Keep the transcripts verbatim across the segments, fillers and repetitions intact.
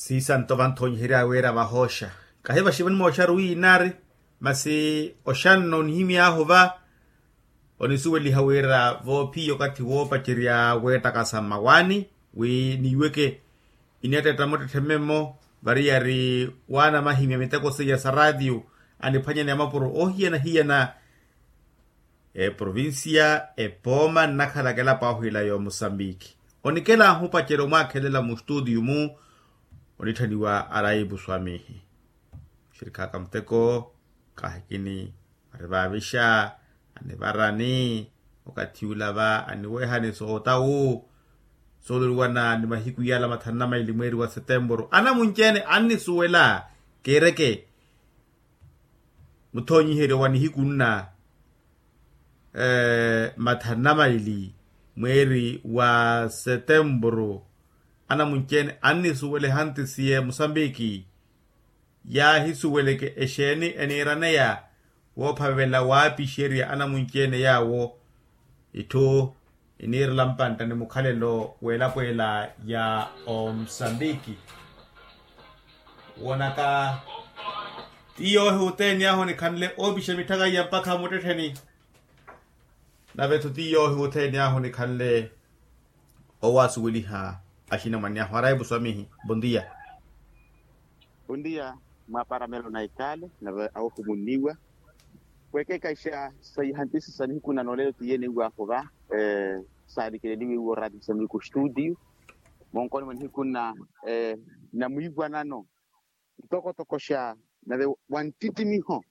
Siisanto vanthonyiherya wira vahooxa, kahi vaxiva nimooxaru wi inaari. Masi oxanno onihimy'ahu va, onisuweliha wira voophiya okathi woopacerya weettakasa mmawaani, wi niiweke ineettetta muttettheme-mo variyari waana mahimya miteko seiya sa raatiyo, aniphwanyane ya mapuro oohiyana-hiyana. Eprovincia epooma nnakhalaka elapo ahu ila y'omusambiki. Onikelahu omupacerya omwaakhelela mustuutiyu-mu. Onitthaniwa araipu swamihi. Muxirikhaka muteko, kahikini arivaavixa, anivarani. Okathi ula va aniweehani sootawu, sooluliwana ni mahiku yala mathanu na maili mweeri wa setempuru anamunci-ene annisuwela. Kiireke muthonyiheryo wa nihiku nna mathanu na maili mweeri wa setempuru, anamunci-ene annisuwela ehantisiye musambiki. Yaahisuweleke exeeni eniiraneya woophavela waapixerya anamunci-ene yaawo. Itthu iniirela mpantta ni mukhalelo w'elapo ela ya omusambiki. Woonaka, ti yoohi othene ahu onikhanle oopixa mitthaka iya mpakha muttettheni. Nave-tho ti yoohi othene ahu onikhanle owaasuweliha axinamwane ahu araipu swamihi. Bondia. Bondia. Mwaaparamelo na ikale nave awohumunniwa. Wekeekaixa sa ihantisi sa nihiku na noolelo ti yene iwaahu va saalikeleliwe iwo raatiso miku studio. Monkoni mwa nihiku nna namwiiwanano ntokotoko xa nave wa nttittimiho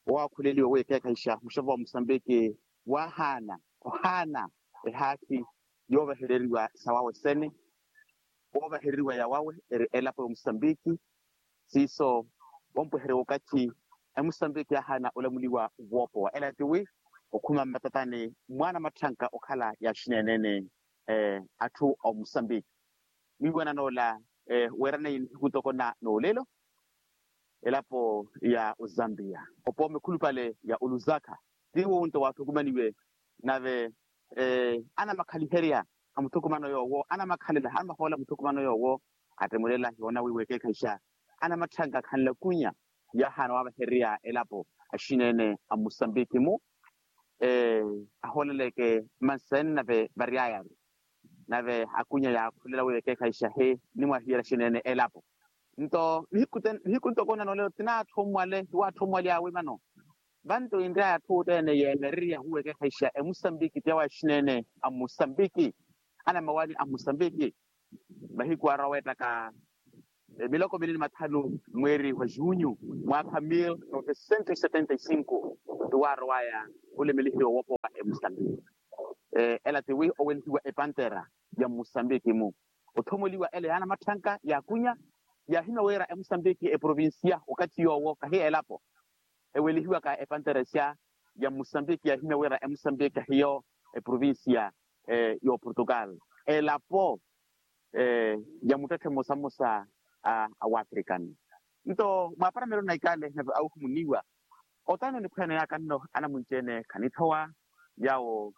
owaakhuleliwe wekeekaixa muxevo wa musambiki waahaana ohaana ehaakhi yoovahereriwa sawawe sene. Woovahereriwa yawawe eri elapo ya omusambiki. Siiso wompweherya wookathi emusambiki yaahaana olamuliwa woopowa ela tiwi okhuma mmatatani mwaana matthanka okhala yaaxineenene atthu a omusambiki. Mwiiwanan'ola weeraneyi nihiku ntoko na noolelo elapo ya ozambiya opooma ekhulupale ya oluzakha. Tiwo wunto waathukumaniwe nave anamakhaliherya a muthukumano yoowo anamakhalela anamahoola muthukumano yoowo. Attemulela yoona wi wekeekhayixa anamatthanka khanlakunya yaahaana waavehererya elapo axinene a musambiki-mu. Ahooleleke mansene nave varyaya-ru nave akunya yaakhulela wi wekeekhayixa hi nimwahiyela axinene elapo. Nto nihiku ntoko na noolelo tinaatthomwale hiwaatthomwale awe vano. Vanto inryaya atthu othene yeemererya huwekeekhayixa emusambiki tiyawe axinene a musambiki anamawani a musambiki. Mahiku aarwa weettaka miloko mili ni mathanu mweeri wa junyu mwaakha mil novecento setenta y cinco. Tiwaarwaya olemelihiwa woopowa emusambiki. Ela tiwi owelihiwa epantera ya musambiki-mu. Otthomoliwa ela yaana matthanka yaakunya yaahimya wira emusambiki eprovincia okathi yoowo kahi elapo. Ewelihiwaka epanteresya ya musambiki yaahimya wira emusambiki hiyo eprovincia y'oportugal elapo ya muttetthe mmosamosa a wafrikani. Nto mwaaparamelo na ikale nave awuhumuniwa otano niphwene yaka nno anamunci-ene khanithowa yawo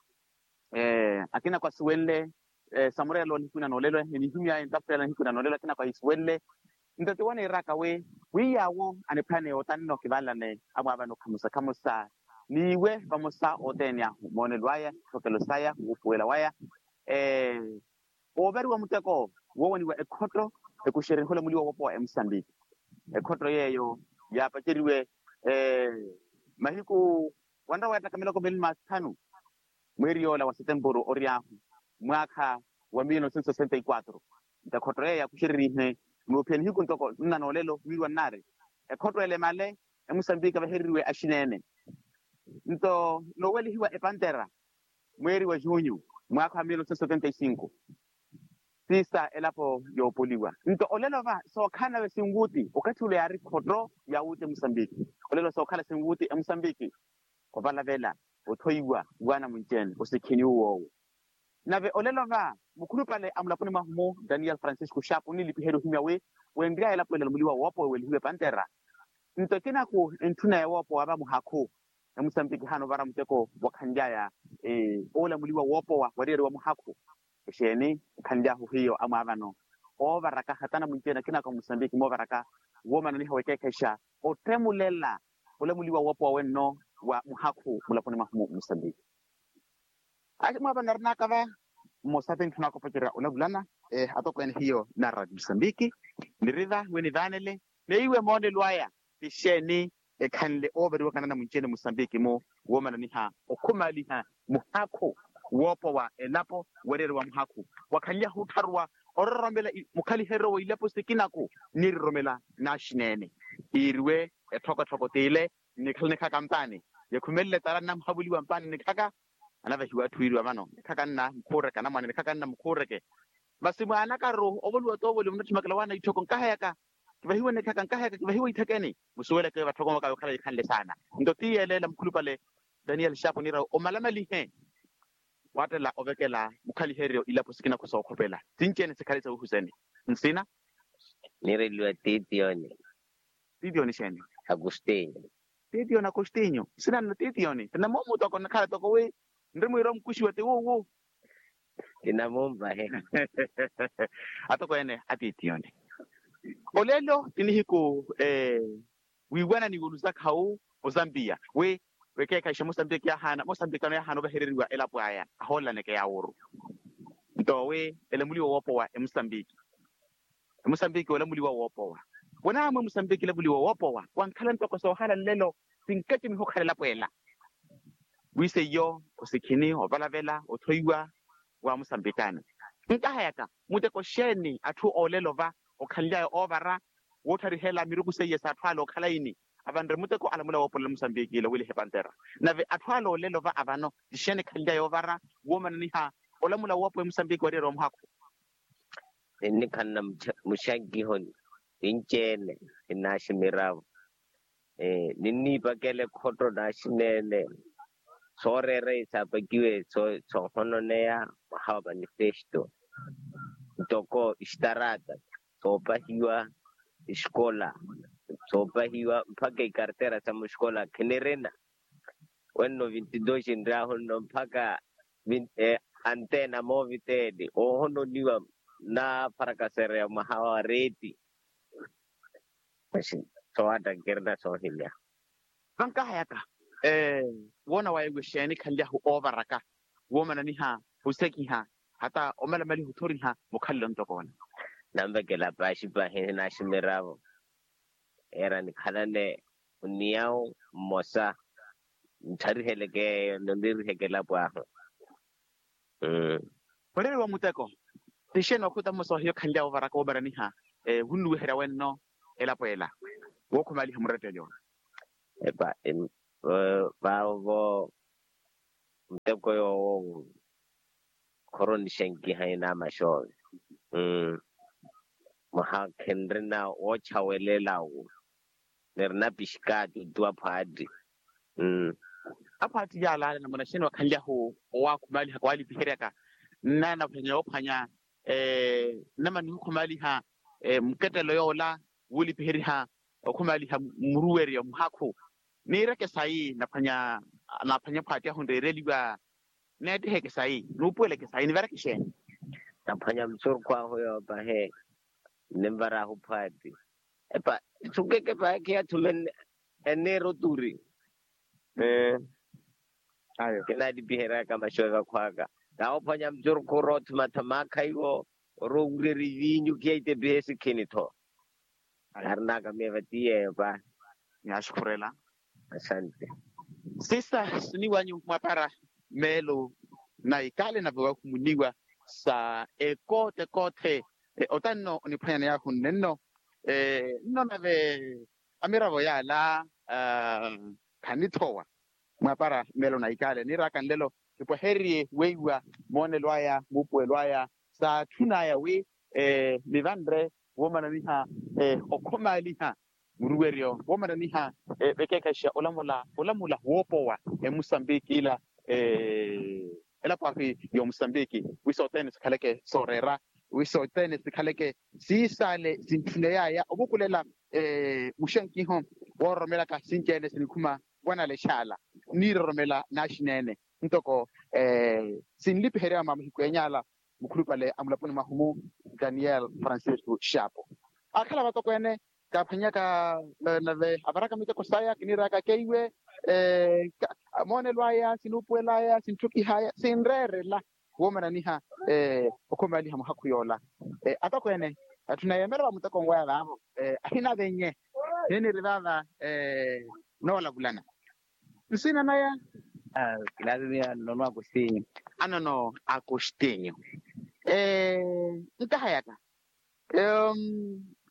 akinako asiwenle samureelo nihiku na noolelo enihimyaya entaputeela nihiku na noolelo akinako ahisuwenle. Nto tiwo niiraka wi wi yaawo aniphwene otanno kivanlane amwaavano khamosa khamosa n'iwe vamosa othene ahu moonelo aya thokelo saya wuupuwela waya. Wooveriwa muteko woowaniwa ekhotto ekuxereriha olamuliwa woopowa emusambiki. Ekhotto yeeyo yaapaceriwe mahiku wanra weettaka miloko mili ni mathanu mweeri yoola wa setempuru ory'ahu mwaakha wa mil novecentos sessenta y quatro. Nto ekhotto yeeyo yaakuxererihe nuuphiya nihiku ntoko nna noolelo wiiriwa nnaari ekhotto elemale emusambiki avehereriwe axinene. Nto noowelihiwa epantera mweeri wa junyu mwaakha wa mil novecentos setenta y cinco. Siisa elapo yoopoliwa nto olelo va sookhala nave sinwuuti okathi ule yaari khotto yaawuuti emusambiki. Olelo sookhala sinwuuti emusambiki. Ovalavela othoiwa waana munci-ene osikhiniwe woowo. Nave olelo va mukhulupale a mulaponi mwahu-mu daniel francisco xapu onilipiheriwa ohimya wi wenryaya elapo elamuliwa woopowa ewelihiwe pantera. Nto ekinaku entthuna ya woopowa va muhakhu emusambiki haana ovara muteko wakhanlyaya oolamuliwa woopowa wariyariwa muhakhu. Exeeni ekhanlyahu hiyo amwaavano oovaraka hata anamwinci ene akina aka musambiki moovaraka woomananiha wekeekhexa ottemulela olamuliwa woopowa wenno wa muhakhu mulaponi mwahu musambiki. Aci mwaapa nnarinaka va mmosa ti ntthu naakopocerya olavulana atokweene hiyo na radio musambiki niri va wi nivaanele neiwe moonelo aya ti xeeni ekhanle oovariwaka nanamwinci ene musambiki-mu woomananiha okhumaliha muhakhu woopowa elapo wariyari wa muhakhu wakhanlyahu ottharuwa ororomela mukhaliheryo wa ilapo sikinaku niroromela naaxineene iiriwe etthokotthoko t'ile nnikhala nikhaka mpaani yakhumelele tala nnamuhavuliwa mpaani nnikhaka anavehiwa atthu wiiriwa vano nikhaka nna mukhuureke anamwane nikhaka nna mukhuureke masi mwaanakaru ovoliwa toovoliwa munatthimakela waana itthoko nkaheyaka kivahiwe nikhaka nkaheyaka kivahiwe itthekeni musuweleke vatthokomwaka yokhala yikhanle saana nto ti yeeleela mukhulupale daniel xapo niirawe omalamalihe waattela ovekela mukhaliheryo ilapo sikinaku sookhopela sinci-ene sikhale sawuhuseni nsina niireliwa titiyoni titiyoni xeeni agustinyo titiyoni agustinyo nsina nno titiyoni ti namoomu toko nnakhala toko wi nri mwiira omukuxiwa ti wuwu ti namoomu vahe atokweene atitiyoni olelo ti nihiku wiiwana ni wuluzakhawu ozambiya wi wekeekhayixa mosambiki yaahaana mosambiki ano yaahaana ovahereriwa elapo aya ahoolelana eke yaawuru nto wi elamuliwa woopowa emusambiki emusambiki olamuliwa woopowa wanaamwe musambiki elamuliwa woopowa wankhala ntoko soohala nlelo sinkacimiha okhala elapo ela wi seiyo osikhini ovalavela othoiwa wa musambikani nkahayaka muteko xeeni atthu oolelo va okhanly'aya oovara wootthariha ela miruku seiye s'atthu ale okhala ini avanre muteko alamula woopolela musambiki ila wilihe pantera nave atthu ale oolelo va avano tixeeni khanly'aya oovara woomananiha olamula woopowa emusambiki wariyari wa muhakhu ninnikhanna muxankiho ninci-ene ninaaximiravo ninniipakela ekhotto naaxineene sooreera isaapakiwe soohononeya mwaha wa manifesto ntoko ixtarata soopahiwa exikola soopahiwa mpakha ikartera sa muxikola khinirina wenno vinti dos nryahu nno mpakha antena moviteli oohononiwa naaparakasereya mwaha wa reeti soowatta nkirina soohimya vankahayaka woona waya iwe xeeni khanlyahu oovaraka woomananiha osekiha hata omalamaliha othoriha mukhalelo ntoko ola nanvekela paaxi pahi naaximiravo era nikhalane oniyawu mmosa nttharihele keeyo noniriheke elapo ahu mmm mureri wa muteko tixeeni okhuta mmosa ohiyo khanlyawo ovaraka woomaraniha wunnuweherya wenno elapo ela wookhumaliha muretteli ola epa vaavo muteko yoowo khoro nixenkiha inaamaxoove mwaha khinrina woochawelelawu nirina pixikaati otuwa phwaatti aphwaatti yaalaala namuna xeeni wakhanlyahu owaakhumaalihaka waalipiheriaka nnanaphwanya yoophwanya nnamana nihukhumaliha mukettelo yoola wuulipiheriha okhumaaliha muruweryo muhakhu niireke sayi naphwanya naphwanya phwaati ahu nreereliwa neettiheke sayi nuupuweleke sayi nivareke xeeni naphwanya musurukhu ahu yoopahe nnimvarahu phwaati epa sukeke paakhi athume enniira oturi kinalipiheryaka maxuweka khwaka nawophwanya mucurukhu oroothumatha maakha iwo oroowurerya iviinyu kiyaitepiha esikhini-tho narinaka miyo vatiyeyo pa nyaxukhurela asante sisa siniwanyu mwapara meelo na ikale nave wahumuniwa sa ekoote koote otanno oniphwanyana yahu nnenno nno nave amiravo yaala khanithowa mwapara meelo na ikale niiraaka nlelo kipweheriye weiwa moonelo aya muupuwelo aya saatthun'aya wi nivanre woomananiha okhomaaliha muruweryo woomananiha vekeekhaxa olamula olamula woopowa emusambiki ila elapo ahu y'omusambiki wi sothene sikhaleke sooreera wi sothene sikhaleke siisaale sintthuney'aya ovukulela muxenkiho woororomelaka sinci-ene sinikhuma wanalex'ala niiroromela naaxina-ene ntoko sinlipiherya mwa mahiku eeny'ala mukhulupale a mulaponi mwahu-mu, daniel francisco xapo. Akhala vatokweene kaaphwanyaka nave avaraka miteko saya kiniiraka keiwe moonelo aya sinuupuwela aya sintthukiha aya sinreerela woomananiha okhumaaliha muhakhu yoola. Atokweene atthu nayeemela va muteko nweya vaavo ahinavenye. Niiniri vaava noolavulana nsiina naya. Kilaazimiya nono akustinyo. Anono akustinyo. Nkahayaka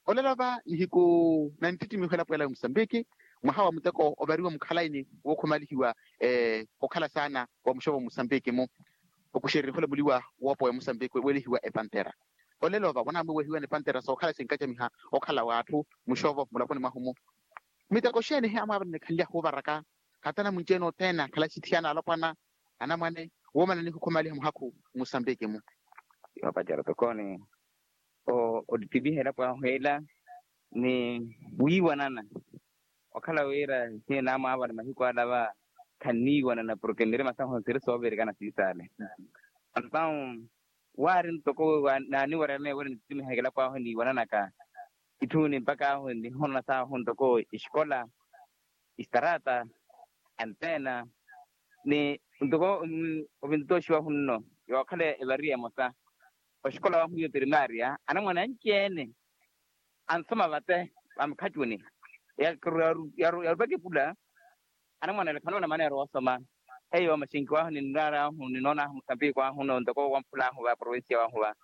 olelo va nihiku na nttittimiho elapo ela ya musambiki mwaha wa muteko ovariwa mukhalaini wookhumalihiwa okhala saana wa muxovo musambiki-mu okuxereriha olamuliwa woopowa emusambiki weelihiwa epantera. Olelo va wanaamwiwehiwa ni pantera sookhala sinkacamiha okhala w'atthu muxovo mulaponi mwahu-mu miteko xeeni he amwaavana nikhanlyahu ovaraka hata namunci-ene othene akhala axithiyana alopwana anamwane woomana nihukhumaliha muhakhu musambiki-mu. Yoopacera tokooni ottitimiha elapo ahu ela ni wiiwanana okhala wira hiyo naamwaavana mahiku ala va khanniiwanana porke nirima sahu nsiri soovirikana siisale. Antawu waari ntoko naaniwererana wira nittimihaka elapo ahu eniiwananaka itthu ni mpakha ahu nihonona sahu ntoko exikola extarata anteena ni ntoko ovintoxiwahu nno yookhala evariya emosa oxikola wahu iyo primaria anamwane anci-ene ansoma vate vamukhattuni yarupaka epula anamwane ale khanoona maneera woosoma. Eyo maxinki wahu ninraari ahu ninoonahu musambiki wahu no ntoko wamphula ahu va provincia wahu va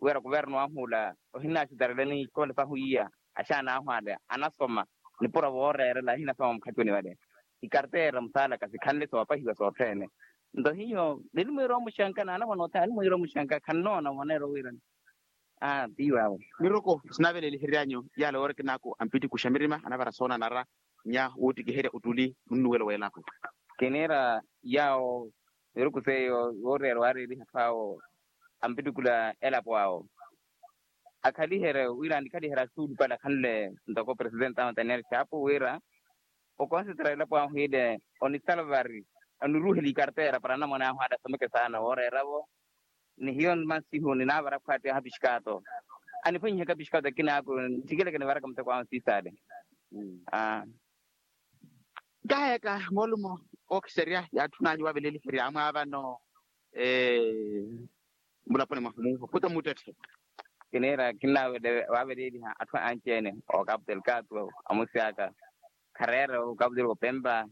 wira kuverno wahu ola ohinnaxutarelani ikola sahu iya axaana ahu ale anasoma nipuro vooreerela ahinasoma mukhattuni vale ikarteera musaalaka sikhanle soopahiwa sothene. Nto hiyo nili mwiira omuxanka n'anamwane othene ali mwiira omuxanka khannoona maneera owirana. Aa tiiwaawe. Miroko sinaavelelihery'anyu yaala woorekin'aku ampittikuxa mirima anavara soonanara nya wuuttikiherya ottuli munnuwelo w'elapo. Kiniira yaawo miruku seiyo yooreera waareeriha atthu awo ampittikula elapo awo akhaliherye wira annikhaliherye asuulupale akhanle ntoko presidente ahu daniel xaapo wira okonsentra elapo ahu ile onisalvari oniruuhela ikarteera para anamwane ahu ale asomeke saana wooreera-vo. Ni hiyo masihu ninaavara khwaattiy'ahu apixikaato aniphwanyihaka apixikaato akina aku ntthikeleke nivaraka muteko ahu siisaale. Aa nkahayaka moolumo ookhiserya yaatthun'anyu waaveleliherya amwaavano mulaponi mwahu muhota muttetthe. Kiniira kinnaavele waaveleliha atthu anci-ene okapu delgado amusi aka khareera okapu delgado opempa.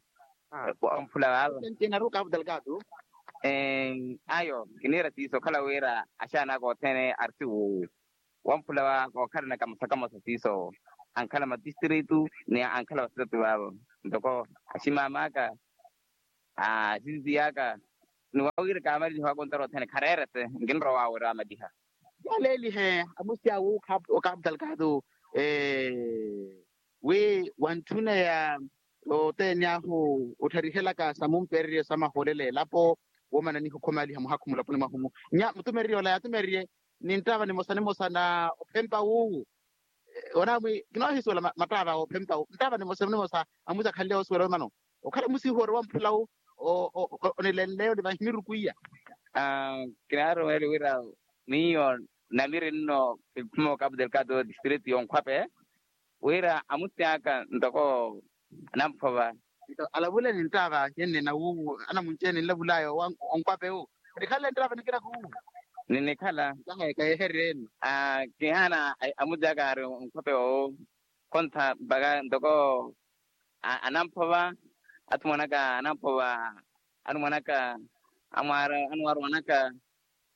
Wamphula vaava anci-ene ari okapu delgado. Ayo kiniira siiso okhala wira axaana aka othene ari siwuuwu wamphula va kookhalana kamosa kamosa siiso ankhala matistritu ni ankhala vasitatu vaavo ntoko aximama aka axisisi aka ni wawira kaamaliliha wakontara othene khareerese nkinrowa wira amaliha. Yaaleelihe amusi awu okapu delgado wi wantthuneya othene ahu ottharihelaka sa mumpererye sa mahoolela elapo woomana nihukhumaliha muhakhu mulaponi mwahu-mu nya mutumererye ola yaatumererye ni nttaava nimosa nimosa na ophempa wuuwu. Onamwi kinoohisuwela mattaava ophempa wu nttaava nimosa nimosa amusi akhanle osuwela omano okhala musihu ori wamphula wu onilenleyo ni vahi miruku iya. Kinaarumeeli wira miyo namiri nno kiphuma okapu delgado distritu yonkhwape wira amusi aka ntoko anamphova. Alavule ni nttaava yenne na wuuwu anamunci-ene ninlavul'aya onkwape wu nikhanle nttaava nikina kuuwu. Ninikhala. Kaheehery'ene. Kihaana amusi aka ari onkwape owu khontha mpakha ntoko anamphova athu mwanaka anamphova anu mwanaka amwaari anu mwaari mwanaka.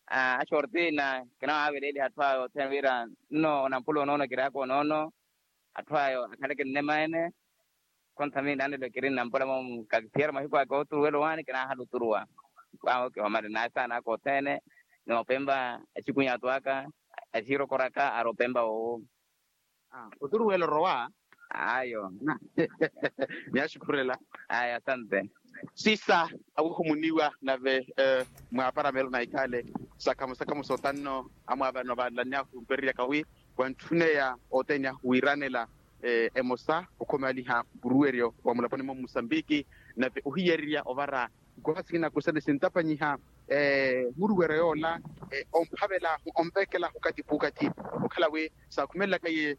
Axortina kinawaaveleliha atthu aya othene wira nno onamphula onoono kiraaka onoono atthu aya akhaleke nnema ene. Khontha miyo naanelo kiri nnampula moomu kakisiyerya mahiku aka ooturuwela owaani kinaahala oturuwa. Awo kihomale n'asaana aka othene ni opempa axikunyatu aka axirokoraka ari opempa woowo. Oturuwela orowa. Ayo. Nyaxukhurela. Ayo asante. Siisa awihumuniwa nave mwaaparamelo na ikhaale sakhamo sakhamo sotanno amwaavano vaanlanyahu mpereryaka wi wantthuneya othene ahu wiiranela emosa okhomaliha mpuruweryo wa mulaponi mwa musambiki nave ohiyererya ovara nkoha sikina kusene sintapanyiha muruwero yoola omphavel'ahu onvekel'ahu okathi p'ukathi. Okhala wi saakhumelelaka iye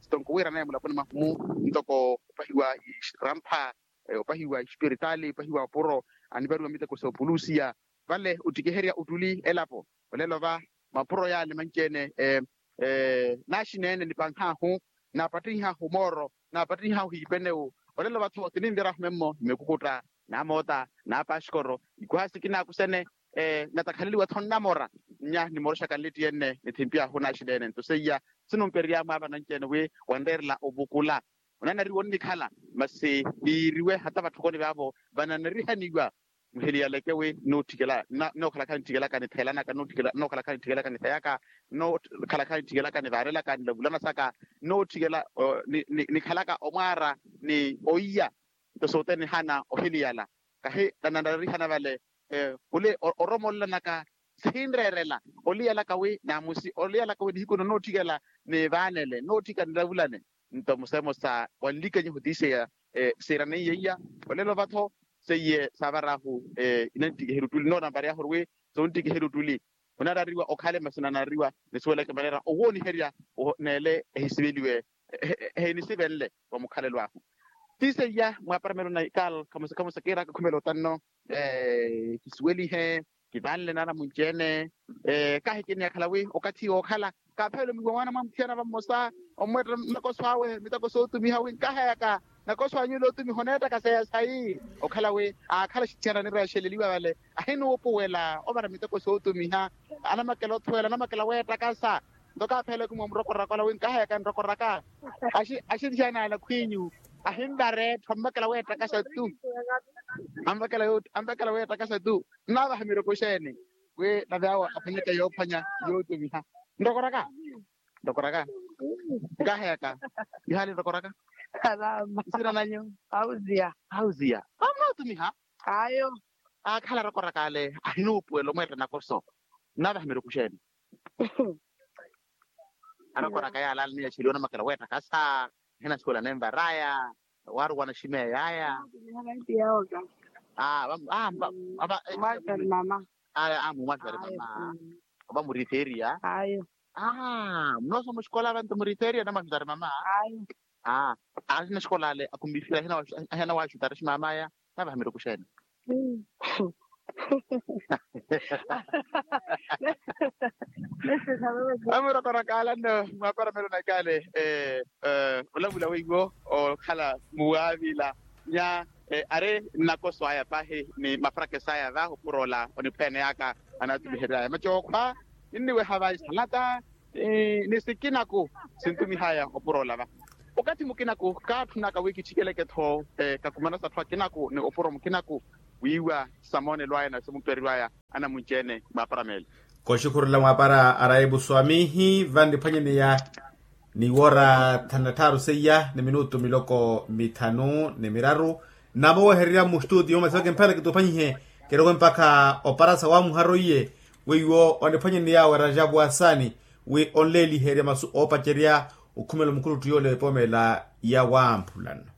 sitonko wiiranaye mulaponi mwahu-mu ntoko opahiwa irampha opahiwa ispiritaali opahiwa opuro anivariwa miteko soopulusiya. Vale ottikiherya ottuli elapo olelo va mapuro yaale manci-ene naaxineene nipanh'ahu naapattinh'ahu mooro naapattinh'ahu hiipenewu. Olelo va-tho ti ninvira ahumemmo nimekukutta naamoota naapaxikoro ikuha sikinaaku sene natakhaleliwa-tho nnamora nnya nimoroxaka nlitti enne nithimpiyahu naaxineene nto seiya sinumperery'amu ava nanci-ene wi wanreerela ovukula onanariwa onnikhala masi niiriwe hata vatthokoni vaavo vananarihaniwa muhiliyaleke wi nootthikela nookhalakha nithikelaka nitheelanaka nookhalakha nithikelaka nitheyaka nookhalakha nithikelaka nivaarelaka nilavulanasaka nootthikela nikhalaka omwaara ni oiya nto sothene nihana ohiliyala kahi nananarihana vale khuli oromolanaka sihinreerela oliyalaka wi naamusi oliyalaka wi nihiku nonootthikela nivaanele nootthika nilavulane nto museemo sa wanlikenyehu ti seiya siiraneiye iya olelo va-tho seiye saavar'ahu inanttikiherya ottuli noonanvary'ahu ori wi sonttikiherya ottuli onanariwa okhale masi onanariwa nisuweleke maneera owooniherya neele ehisiveliwe ehinisivenle wa mukhalelo ahu ti seiya mwaaparamelo na ikal khamusa khamusa kiiraka khumela otanno kisuwelihe kivanle naana munci-ene kahi kiniyakhala wi okathi wookhala kaapheela omihiwa mwaana mwa muthiyana va mmosa omweetta nakoso awe mitako sootumiha wi nkaheyaka nakoso anyu ole otumiha oneettaka seya sayi okhala wi aakhala axithiyana anireexeleliwa vale ahinuupuwela ovara miteko sootumiha anamakela othuwela anamakela weettakasa nto kaaphela ekumi omurokoraka ola wi nkaheyaka nrokoraka axithiyana ala khwiinyu ahinvara etthu ammakela weettakasa tu ammakela weettakasa tu nnavaha miroko xeeni wi nave awo aphwanyeke yoophwanya yootumiha nrokoraka nrokoraka nkaheyaka ihaali nrokoraka isira nanyu auziya auziya amunootumiha ayo aakhala arokoraka ale ahinuupuwela omweetta nakoso nnavaha miroko xeeni arokoraka yaala ale niyaxeliwa namakela weettakasa ahinasuwela nenvaraya waaruwa naximeeyaya mumwaxutari mama ovamuritheriya munoosa muxikola vantu muritheriya namwaxutari mama aa aali naxikola ale akhumifira ahina waaxutari ximamaya navaha miroko xeeni amurokoraka alanno mwaparamelo nakale olavula weiwo okhala muwaavila nya ari nnakoso aya pahi ni mafarakesa aya va opuro ola oniphweeneyaka anaatumiheryaya macookhwa ninniweha va isalata ni sikinaku sintumihaya opuro ola va okathi mukinaku kaatthunaka wi kitthikeleke-tho kakumanasa atthu akinaku ni opuro mukinaku wiiwa samoonelo aya na samuperiwaya anamunci-ene mwaaparamelo koxikhurula mwaapara araipu swamihi vanniphwanyeneya ni woora thanu na tthaaru seiya ni minutu miloko mithanu ni miraru nnamowehererya mustutiyo masi vakimphela kituupanyihe kirowe mpakha oparasa waamuharo iye weiwo oniphwanyeneya wera japu asani wi onleeliherya masu oopacerya okhumela omukhuluttu yoole epoomela ya wamphulana